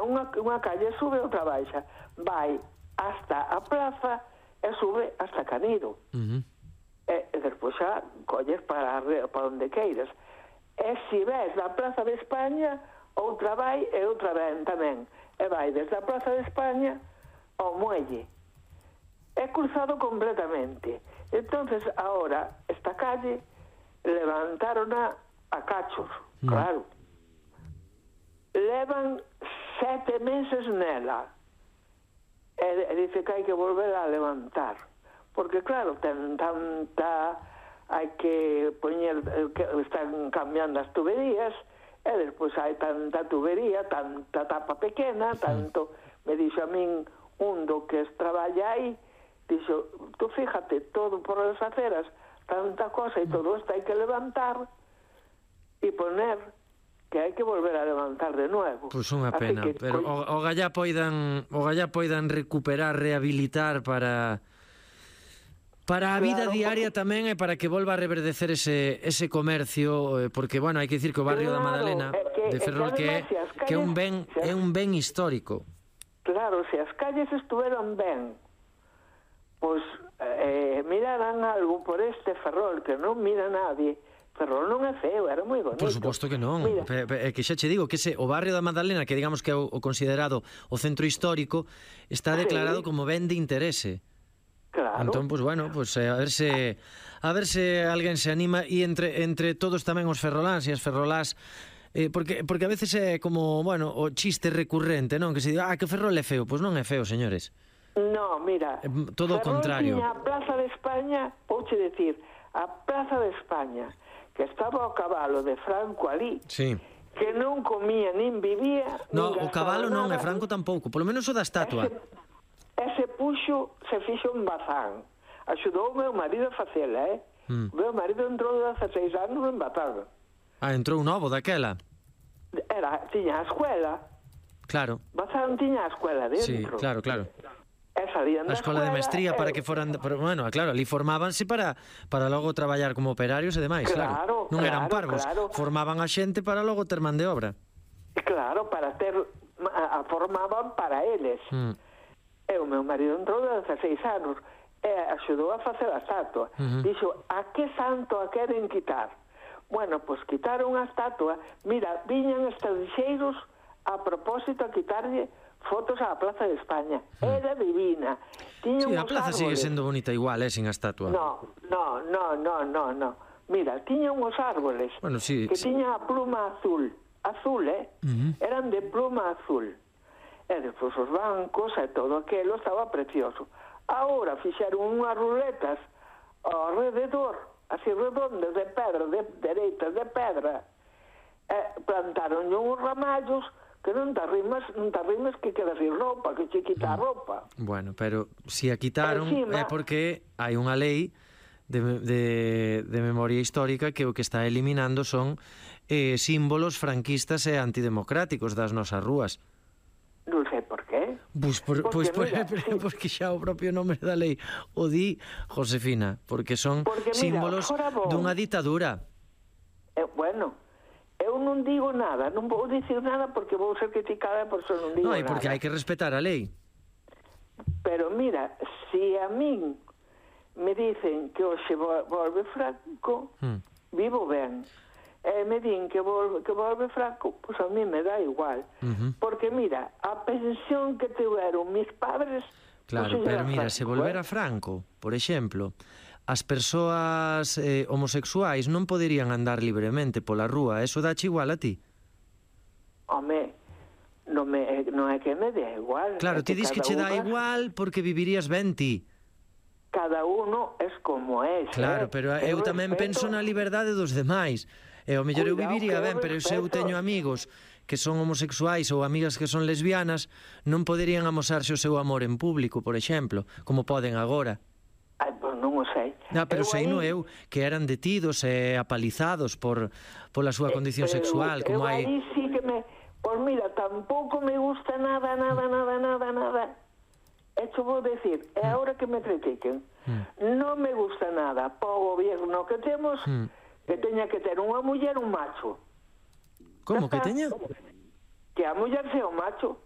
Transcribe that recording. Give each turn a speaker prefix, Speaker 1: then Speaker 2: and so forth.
Speaker 1: Mira, unha calle sube, outra baixa. Vai hasta a plaza e sube hasta Canido. E despois xa colles para onde queiras. E se ves da Plaza de España, outra vai e outra ven tamén. E vai desde a Plaza de España ao muelle. É cruzado completamente. Entonces, ahora, esta calle levantarona a cachos, claro. Levan 7 meses nela. E dice que hai que volver a levantar. Porque, claro, ten tanta... Hai que poñer... Están cambiando as tuberías, e despois hai tanta tubería, tanta tapa pequena, tanto... Me dixo a min un do que traballa aí, dixo, tú fíjate, todo por as aceras, tanta cosa, e todo isto hai que levantar e poner... que hai que volver a levantar de nuevo.
Speaker 2: Pois unha pena, pero o gallá poidan recuperar, rehabilitar para a vida diaria tamén, e para que volva a reverdecer ese comercio, porque, bueno, hai que dicir que o barrio da Madalena de Ferrol que é un ben histórico.
Speaker 1: Claro, se as calles estuveron ben, pois miraran algo por este Ferrol, que non mira nadie. Ferrol non é feo, era moi bonito.
Speaker 2: Por suposto que non. É que xa che digo que o barrio da Madalena, que digamos que é o considerado o centro histórico, está declarado como ben de interese.
Speaker 1: Claro.
Speaker 2: Entón, pues bueno, pues a ver se alguén se anima, e entre todos tamén os ferroláns e as ferrolás, porque a veces é como, bueno, o chiste recurrente, non? Que se diga, que Ferrol é feo. Pois non é feo, señores.
Speaker 1: No, mira,
Speaker 2: todo o contrario.
Speaker 1: Ferrol tiña a Plaza de España, vouche decir, a Plaza de España, que estaba o cabalo de Franco ali,
Speaker 2: sí,
Speaker 1: que non comía nin vivía.
Speaker 2: No, o cabalo non, e Franco tampouco, polo menos o da estatua.
Speaker 1: Ese puxo se fixo un bazán. Axudou o meu marido a facela, O meu marido entrou de 16 anos en Bazán.
Speaker 2: Entrou novo daquela.
Speaker 1: Tiña a escuela.
Speaker 2: Claro.
Speaker 1: Bazán tiña a escuela dentro.
Speaker 2: Sí, claro.
Speaker 1: A
Speaker 2: escola de mestría para que foran... Bueno, claro, ali formábanse para logo traballar como operarios e demais, claro. Non eran parvos, formaban a xente para logo ter man de obra.
Speaker 1: Claro, para ter... formaban para eles. E o meu marido entrou de 16 anos e axudou a facer a estatua. Dixo, a que santo a queren quitar? Bueno, pois quitaron a estatua. Mira, viñan estranxeiros a propósito a quitarlle fotos á Plaza de España. Era divina.
Speaker 2: Sí, a plaza sigue sendo bonita igual, sin a estatua.
Speaker 1: No. Mira, tiña uns árboles que tiña a pluma azul. Eran de pluma azul. E despois os bancos e todo aquilo estaba precioso. Ahora fixeron unhas ruletas ao rededor, así redondas de pedra, dereitas de pedra. Plantaron uns ramallos que non te arrimes que quedas sin roupa, que che quita a roupa.
Speaker 2: Bueno, pero si a quitaron é porque hai unha lei de memoria histórica que o que está eliminando son símbolos franquistas e antidemocráticos das nosas rúas.
Speaker 1: Non sei por qué.
Speaker 2: Porque xa o propio nome da lei o di, Josefina, porque son símbolos dunha ditadura.
Speaker 1: Bueno, eu non digo nada, non vou dicir nada porque vou ser criticada por eso non digo nada.
Speaker 2: Non, porque hai que respetar a lei.
Speaker 1: Pero mira, se a min me dicen que hoxe volve Franco, vivo ben. Me din que volve Franco, pois a mí me dá igual. Porque mira, a pensión que tiveron mis padres...
Speaker 2: Claro, pero mira, se volvera Franco, por exemplo, as persoas homosexuais non poderían andar libremente pola rúa, eso dache igual a ti?
Speaker 1: Home, non é que me dé igual.
Speaker 2: Claro, ti dis que che dá igual porque vivirías ben ti.
Speaker 1: Cada uno es como es.
Speaker 2: Claro, pero eu tamén penso na liberdade dos demais. E o mellor eu viviría ben, pero se eu teño amigos que son homosexuais ou amigas que son lesbianas, non poderían amosarse o seu amor en público, por exemplo, como poden agora.
Speaker 1: Pois non o sei.
Speaker 2: Pero sei no eu, que eran detidos e apalizados pola súa condición sexual, como hai...
Speaker 1: aí sí que me... Pois mira, tampouco me gusta nada. Esto vou decir, é ahora que me critiquen. Non me gusta nada po gobierno que temos... que teña que ter unha muller un macho.
Speaker 2: Como que teña?
Speaker 1: Que a muller sea un macho.